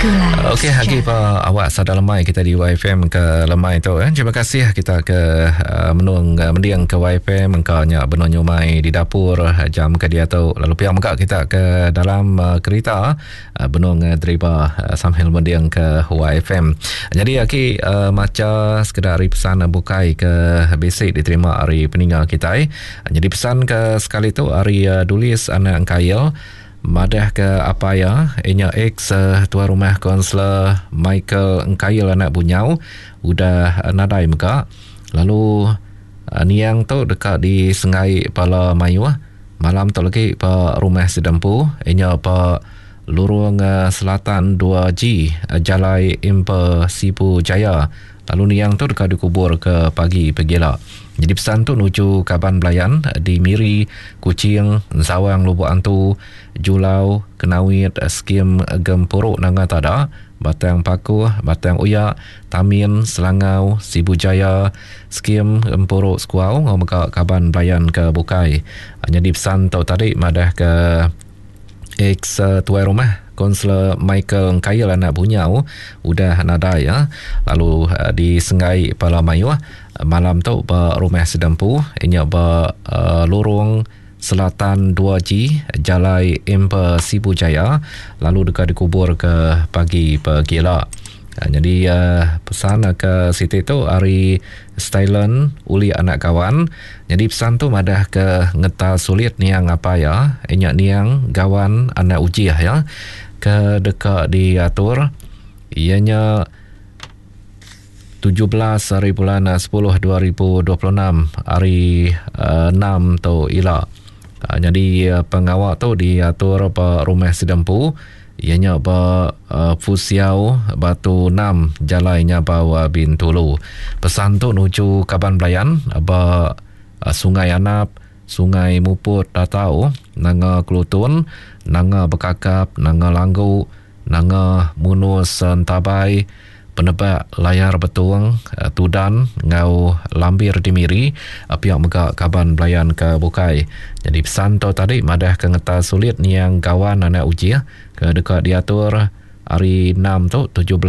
Okey agi pa awak sada lemai kita di YFM ke lemai tu eh. Terima kasih kita ke uh, menung uh, mending ke YFM engka nya benung nyumai di dapur eh, jam ke dia tu. Lalu pia mega kita ke dalam uh, kereta uh, benung uh, driba uh, sambil mending ke YFM. Jadi agi uh, macha sekeda ari pesan bukai ke bisi diterima ari peninga kitai. Jadi pesan ke sekali tu ari uh, Dulis anak Engkail Madah ke apai iya, iya nya ex Tuai Rumah Kaunselor Michael Engkail anak Bunyau udah nadai mega lalu niang tu deka disenggai bala mayuh malam tu lagi ba rumah sida empu iya nya ba Lurung Selatan 2G Jalai Imper Sibu Jaya lalu niang tu deka dikubur ke pagi pegila. Nyadi pesan tu nuju kaban belayan di Miri, Kuching, Ensawang Lubok Antu, Julau, Kenawit, Skim Gempuru Nanga Tada, Batang Pakuh, Batang Uyak, Tamin, Selangau, Sibu Jaya, Skim Gempuru Sekuau enggau mega kaban belayan ke bukai. Nyadi pesan tu tadi madahka Ex tuai rumah Kaunselor Michael Engkail anak Bunyau udah nadai ya lalu disenggai pala mayuh malam tu ba rumah sida empu inya ba Lorong Selatan 2G Jalai Emper Sibu Jaya lalu deka dikubur ke pagi pegila. Nyadi pesan ke siti tu ari Stylen uli anak kawan. Nyadi pesan tu madah ke ngeta sulit niang apai iya, inya niang gawan anak ujih iya ke deka diatur iya nya 17 hari bulan 10 2026 hari 6 tu ila. Nyadi pengawa tu diatur ba rumah sida empu iya nya ba Fusiau Batu 6 Jalai Nyabau Bintulu. Pesan tu nuju kaban belayan ba Sungai Anap, Sungai Muput Tatau, Nanga Kelutun, Nanga Bekakap, Nanga Langgu, Nanga Munus Entabai, Penebak Layar Betong, Tudan enggau Lambir di Miri pia mega kaban belayan ke bukai. Nyadi pesan tu tadi madahka ngeta sulit niang Gawan anak Ujih ke deka diatur hari enam tu 17.